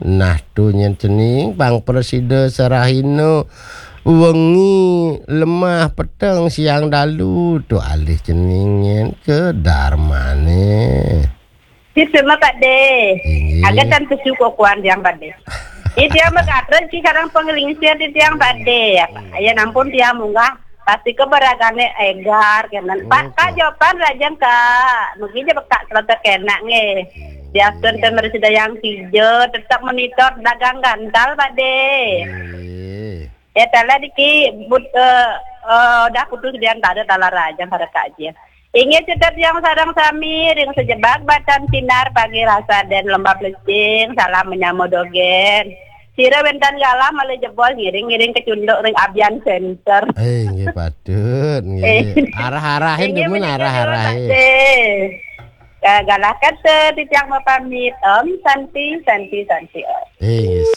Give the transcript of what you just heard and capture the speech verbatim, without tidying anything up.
Nah, tu nyen cening pang prasida sarahina wengi lemah peteng siang dalu tu alih cening nyen ke darmane. Sip sima Pak De. Inggih. Agak tan pesu kuan tiang Pak De. Di tiang berkata si kadang penglingsir di tiang Pak De. Ya, ya nampun tiang munggah pasti ke beragane egar kenan. Pak, Kak, jawaban rajang, Kak. Mungkin je Kak selata kenak nge. Dia tuan temer sedayang tiga tetap monitor dagang gantal Pak De. Ya, tala diki but, eh, eh, dah putus dia tak ada tala rajang pada Kak je. Inggih cedek yang sarang sami ring sejebak batan sinar pagi rasa dan lembab lecing, salam menyamo dogen. Sira wentan galah malih jebos ngiring-ngiring kecunduk ring Abian Center. Eh, nggih patut, nggih. Arah-arahin demen arah-arahin. Galah kata titiang mapamit. Om Santi, Santi, Santi Om. Eh, nggih.